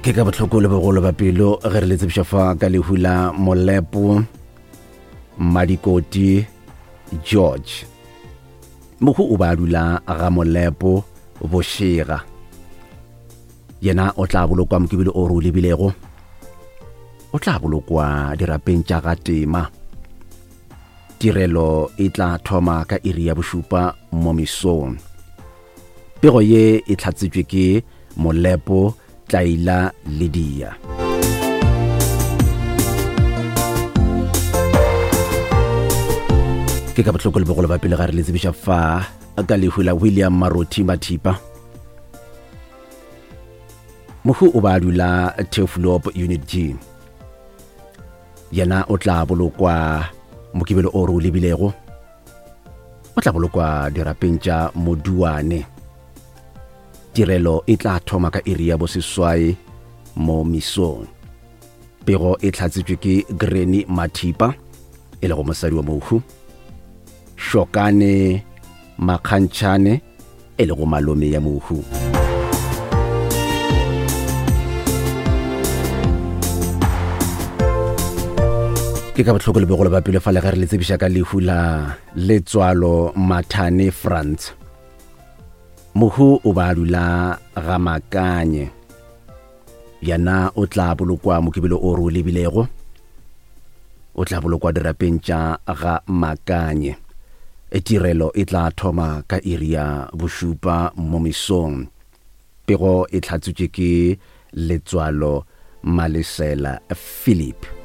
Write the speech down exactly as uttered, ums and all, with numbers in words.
Ke ka bohloko le bogolo ba pelo ge re le tsebiša fa ka lehu la Molepo Madikoti George. Mohu o ba dula ga Molepo Bošega. Yena o tla bolokwa Mokibelo o re o lebilego. O tla bolokwa dirapeng tša ga Tema. Tirelo e tla thoma ka iri ya bošupa mo mesong. Pego ye e hlatsitšwe ke Molepo Tlaila Lydia. Ke ka bohloko le bogolo ba pele ga re le tsebiša fa ka lehu la William Marothi Mathipa. Mohu o ba dula Turfloop Unit G. Yena o tla bolokwa Mokibelo o re o lebilego. O tla bolokwa dirapeng tša Moduane. Tirelo e tla thoma ka iri ya boseswai mo mesong. Pego e hlatsitšwe ke Granny Mathipa, e lego mosadi wa mohu, Shokane Makgantšhane, e lego malome ya mohu. Ke ka bohloko le bogolo ba pelo fa le ge re le tsebiša ka lehu la Letswalo Mathane Frantz. Mohu o ba dula ga Makanye. Yena o tla bolokwa Mokibelo o re o lebilego. O tla bolokwa dirapeng tša ga Makanye. E tirelo e tla thoma ka iri ya bošupa mo mesong. Pego e hlatsitšwe ke Letswalo Malesela Philip.